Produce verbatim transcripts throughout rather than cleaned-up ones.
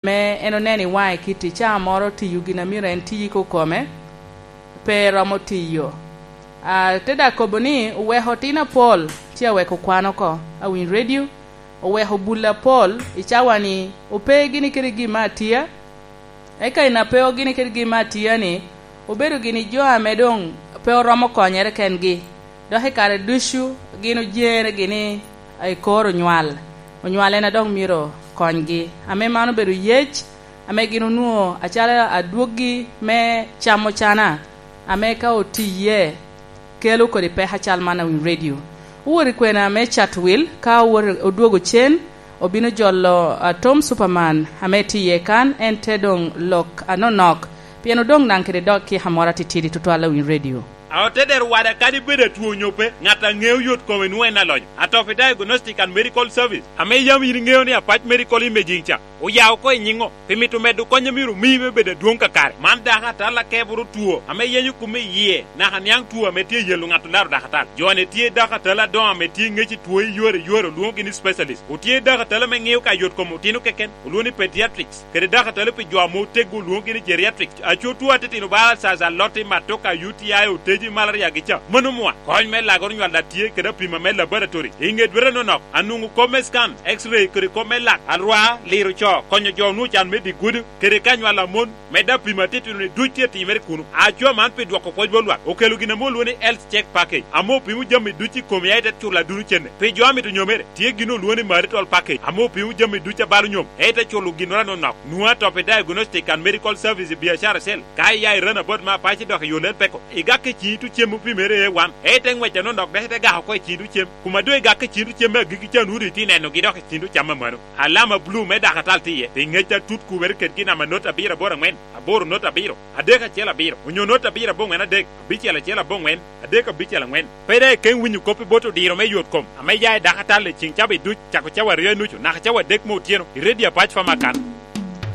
me en oneno i waŋe kit i caa moro tiyo gin a myero en ti koko kome, pe romo tiyo. A, te daŋ kobo ni oweko otino apol tye aweko kwan oko, awiny redio, oweko bul apol i cawa-ni, ope gini kede gin me atia, eka i na pe ogini kede gin me atia-ni, obedo gini jo ame doŋ pe oromo konyere kengi, dok i kare ducu gin ojeŋere gini i kor onywal, onywal en a dok myero konygi, ame man obedo yec ame gin onwoŋo acalo adwoggi me camo cana, ame ka otiye kelo kodi peko acal man a winy redio. Owot i kwena me Chatwil, ka owot odwogo cen, obino jolo, a, Tom Superman ame tye iye kan, en te doŋ lok anonok, pien odoŋ daŋ kede dok kika moro atitidi tutwal a winy redio. A ote dero wada kadi bed atwo onyo pe, ŋat a ŋeo yot kome nwoŋo en alonyo. Atopi Diagnostic and Medical Service, ame yam yin iŋeo ni Apac Medical Imaging ca, oya oko i nyiŋo, pi mito medo kony a myero omi me bedo adwoŋ kakare. Man dako atal akeboro two ame yenyo kume i yie, naka niaŋ two ame tye yelo ŋat olaro dako atal. Jo-ni tye dako atal adoŋo ame tye ŋec i two i yore i yore, olwoŋogi ni specialist. Otye dako atal ame ŋeo ka yot kom otino keken, olwoŋo ni pediatrics, kede dako atal pi jo ame oteggo, olwoŋogi ni geriatrics. Aco two atitino bala caca, lotti, matoka, U T I, oteji, malaria gi ca. Mano mwa, kony me lagoro nywal a tye kede apima me laboratory. I ŋe dwete nonok, anwoŋo kop me scan, X-ray, kede kop me lak, alwa, liro co, konyo jo onwoŋo can me dye gudo, kede ka nywal a mon, medde apima atitino-ni duc tye timere kuno. Aco man pi dwoko pwoc bot lwak, okelo gin ame olwoŋo ni health check package, ame opimo jami duc i komi, a ite culo aduno cene. Pi jo a mito nyomere, tye gin olwoŋo ni marital package, ame opimo jami duc a balo nyom, a ite culo ginnoro anonok. Nwoŋo Atopi Diagnostic and Medical Service i biacara acel. Ka iya i Ranabout me Apac idok i yo Lelpeko, igak i ciŋ itu cem opimere A one, a ite ŋwec anonok dok ite gako oko i ciŋ itu cem. Kuma doŋ igak i ciŋ itu cem me agikki ca, nwoŋo doŋ itye nenogi dok i ciŋ itu cam amano. Alama blu me dako atal tye iye, pi ŋec atut kubere kedgi, namba not abiro aboro aŋwen, aboro not abiro, adek acel abiro, onyo not abiro aboŋwen adek, abicel acel aboŋwen, adek abicel aŋwen. Pe daŋ ikeŋ winyo kop i bot odiro me yot kom ame ya i dako atal i ciŋ cawa duc, cako cawa aryo i nucu naka cawa adek me otyeno, i redio Apac Famakan.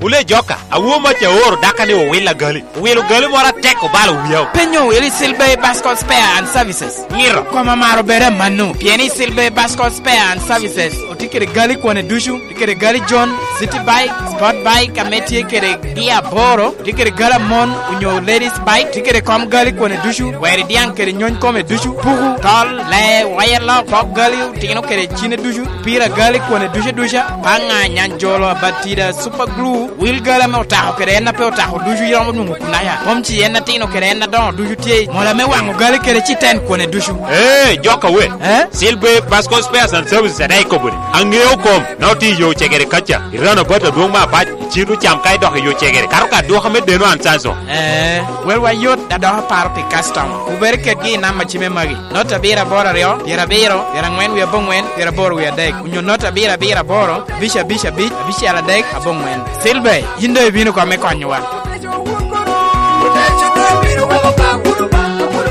Wule joka, awo mac aoro daka ni owil agali. Owilo gali moro atek obalo wiya. Penyo owil i Silbey Bascot Spare and Services. Ngiro. Koma maro bere mano, pien i Silbey Bascot Spare and Services otye kede gali kwane ducu, tye kede gali John, City Bike, Sport Bike, ame tye kede gia aboro, tye kede gali amon onyo ladies bike, tye kede kom gali kwane ducu, weri diaŋ kede nyony kome ducu, puku, tol, lee, waya lok, pok gali, otino kede cine ducu, pira gali kwane ducu aduca, paŋa, nyanjolo, abatida, super glue, wil gali ame otako kede en a pe otako ducu iromo nwoŋo kunaya. Mom ci en atino kede en adoŋo ducu tye, mola me waŋo gali kede citen kwane ducu. Ee, joka we. Eh? Silver Basco Spares and Services adaŋ ikobo ni, aŋeo kom, na otye i yo cegere kaca, i rano bat adwoŋ me Apac, i cito cam ka idok i yo cegere, kato ka dwoka me deno an canso. Eh, wel wa yot, a dok aparo pi customer. Wubere kedgi i namba cime magi. Not abiro aboro aryo, pyerabiro, pyeraŋwen wie aboŋwen, pyeraboro wie adek, onyo not abiro abiro aboro, abic abic abic, abicel adek, aboŋwen. Silver, yin doŋ ibino kome konyowa.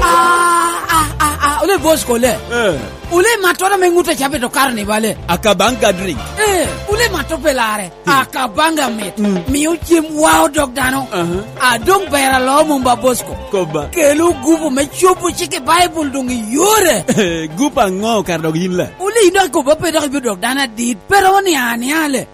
Ah, ah, ah, ah, ole boss kole. Eh. Ole matto na me ŋut a cabe to karo ni bale. Akabanga drink. Eh, ole matto pe lare. Hmm. Akabanga mit. Hmm. Mio cem wao dog dano. Aha. Adong bera lo mumba Bosco. Koba. Kelo gupu me cobo cik i Bible dong i yore. Gupu aŋo kara dog yin la? Ole yin dok ikobo pe dok ibiro dok dano adit. Pero ni ani ale.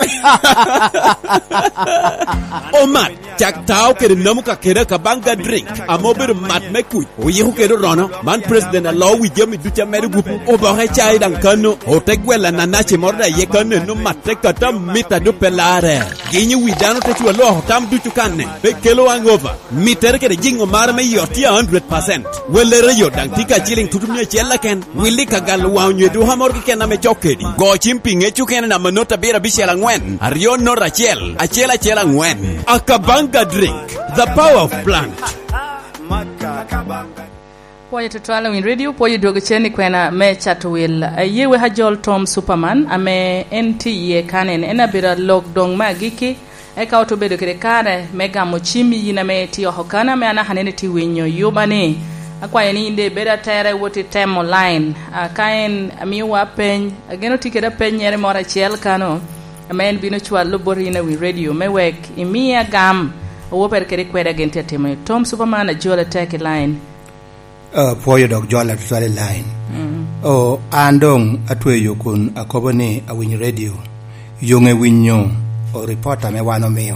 Omat. Cak tao kede namu ka kede Akabanga drink, ame obedo mat me kuc, oyiko kede orono. Man president alo wi jami ducu a medo gupu. Oboke cai daŋ kano, ote gwel ananaci moro daŋ iye kano, eno matte kata mita dupe lare. Ginyo wi dano te cwa lwoko tam ducu kanne, pe kelo hangover. Mittere kede jiŋo mare me yot tye a hundred percent. Wellere yot daŋ tye ka ciliŋ tutu mia acel keken. Willi ka galo waŋ onyo i duka moro keken ame cok kedi. Go cim pi ŋec okene namba not abiro abicel aŋwen, aryo not acel, acel acel aŋwen. Akabanga drink, the power of plant. Pwoyo tutwal Winy Radio, pwoyo dwogo cen i kwena me cato wil. Aye wek ajol Tom Superman, ame en tye iye kanen, en abedo alok doŋ me agikki. Eka ote obedo kede kare me gamo cimmi yin ame itye oko kan, ame anaka nene itye winyo yuba ni. Akwayo ni yin de ibed atere wot itemo line. A, ka en amiwa peny, ageno tye kede apenyere moro acel kano, ame en bino cwalo bot yin awi radio, me wek imiye agam, awo pere kede kweda gin tye atimo ni. Tom Superman ajole tek i line. Ah, pwoyo dok jol atutwal i line. Mm. O, an doŋ atweyo kun akobo ni awinyo radio. Yoŋe winyo o ripot ame wan omio.